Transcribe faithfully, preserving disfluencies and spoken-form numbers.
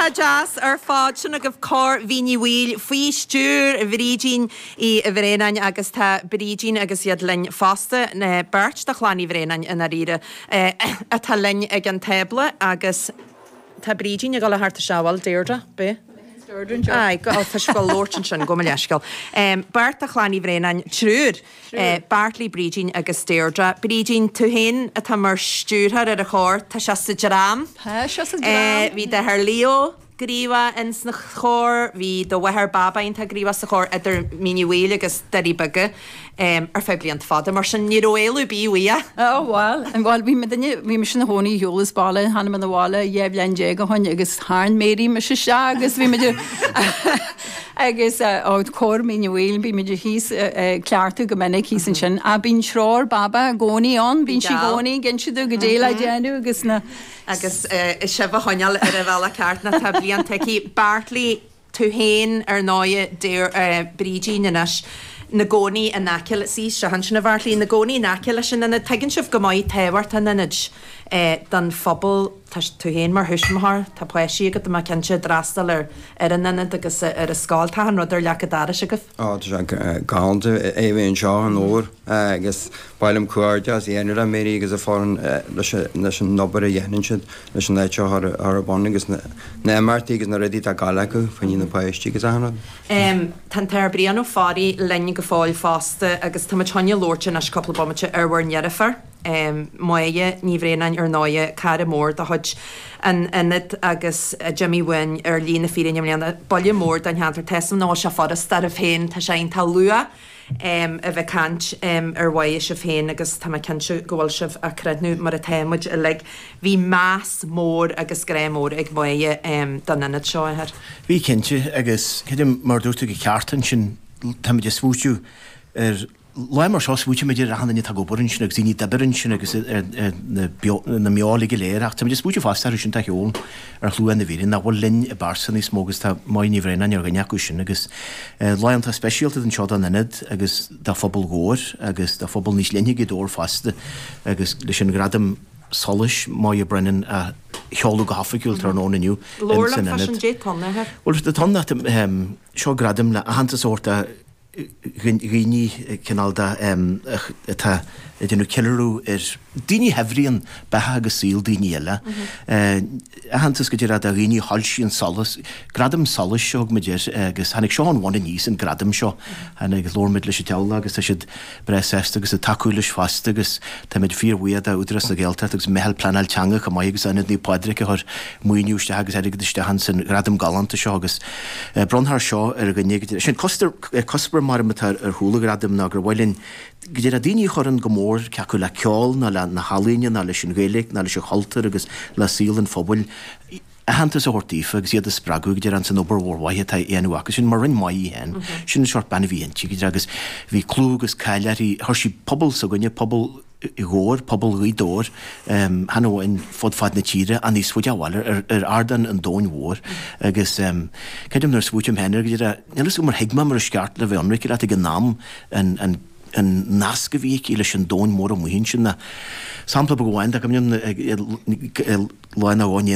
Iontach deas ar fad sin agaibh Cór Mhín Uí Bhaoill faoi stiúir Bhrídín Uí Bhraonáin agus tá Brídín agus iad linn fosta na beirt de chlann Uí Bhraonáin i ndáiríre atá linn ag an tábla agus tá Brídín ag dul thart isteach bhfuil Deirdre be? Ai, go tá go labhairt ansin go leisceil. Beirt de chlann Uí Bhraonáin triúr, Bartley Brídín agus Deirdre. Brídín tú féin atá mar stiúrthóir ar an chór, tá sé sa dream. Tá sé sa dream. Bhí d'athair Leo gníomhach in sna chór, bhí do mháthair Baba tá gníomhach sa chór idir Mín Uí Bhaoill agus Doirí Beaga ar feadh blianta fada, mar sin ní raibh éalú bí uaidh. Ó bhuel, bhuel bhí mé duine bhí mise ina chónaí ar shiúl as baile tháinig mé na bhaile dhá bhliain déag ó shin agus tharraing Mary mise isteach agus bhí muid agus ó cór Mhín Uí Bhaoill bhí muid thíos cleachtadh go minic thíos ansin a bíonn treoir Baba i gcónaí ann, bíonn sí i gcónaí ag inse dúinn goidé le déanamh agus na agus sibh a choinneáil ar an bhealach ceart na tá blianta aici. Bartley tú féin ar ndóigh Brídín anois na gcónaí in aice sí seo sin a Bhartley na gcónaí in aice leis an ionad tuigeann sibh go maith tábhacht an ionaid don phobal tá tú féin mar thuismitheoir tá páistí agat má cinnte d'fhreastal ar ar an ionad agus ar an scoil tá an rud ar leac an dorais agaibh. Á tá sé galánta é bheith anseo an uair agus bailím comhghairdeas a dhéanamh le Mary agus a foireann leis an obair a dhéanann siad leis an áit seo ar bun agus na imeachtaí agus na rudaí atá gal acu faoi na páistí agus achan rud. Tá an tAthair Brian Ó Fearraigh linn go fóill fosta agus tá muid chun labhairt anois cúpla bomaite ar bhur ndeirfiúr. Máire Ní Bhraonáin ar ndóigh cara mór de chuid an ionad agus d'imigh uainn ar shlí na fírinne i mbliana buille mór don cheantar Tá ná sé furasta oraibh féin tá sé iontach luath a bheith caint ar mhaith sibh féin agus tá mé cinnte go bhfuil sibh á crothú mar atá muid uilig. Bhí meas mór agus grá mór ag Máire don ionad seo a Athair. Bhí cinnte agus creidim mar dúirt tú go ceart ansin táimid ag smaoitiú ar lá mar seo smaoitímid ar achan duine atá ag obair ansin agus daoine d'oibir ansin agus na na mná go léir ach táimid ag smaoitiú fosta orthu sin atá ar shiúl ar shlua na bhfírinne nach bhfuil linn i bpearsa níos mó agus tá Máire Ní Bhraonáin ar dhuine acu sin agus lá iontach speisialta anseo don ionad agus dá phobal Dhobhair agus dá phobal níos leithne Ghaoth Dobhair fosta agus leis an ghradam solais Moya Brennan a sheoladh go hoifigiúil tráthnóna inniu Labhair liom fá sin dé ton athair. Well tá ton seo gradam le aitheantas a thabhairt dhaoine cineál de atá ag déanamh ceiliúradh ar daoine a shaibhríonn beatha agus saol daoine eile. Aitheantas go dtí do dhaoine a shoilsíonn solas, gradam solais a thug muid air agus tháinig seo ón bhun aníos an gradam seo. Tháinig labhair muid leis an teaghlach agus tá siad breá sásta agus ag tacú leis fosta agus táimid fíorbhuíoch d'Údarás na Gaeltachta agus Meitheal Pleanáil Teanga chomh maith agus Ionad Naomh Pádraig a chuir maoiniú isteach agus airgead isteach ansan ghradam galánta seo agus bronnfar seo ar dhuine sin cuspóir mar atá ar chúl an ghradaim ná gur mhaith linn go dtí daoine a chuireann go mór cé acu le ceol ná le na healaíona ná leis an Ghaeilge ná leis an chultúr agus le saol an phobail aitheantas a thabhairt daofa agus iad a spreagadh go dtí an san obair mhór mhaith atá á dhéanamh acu sin mar rinne Máire féin sin an seort bean a bhí inti go dtí agus bhí clú agus cáil uirthi chuir sí pobal s'againne pobal Dhobhair pobal Ghaoth Dobhair chan amháin fud fad na tíre ach níos faide abhaile ar ar ardán an domhain mhóir agus creidim nuair a smaoiním féin air go dtí níl a fhios agam ar thuig mé mar is ceart le bheith ionraic leat ag an am an an an nasc a bhí aici leis an domhan mór amuigh ansin na sampla beag amháin dá go mbíonn lá nó dhó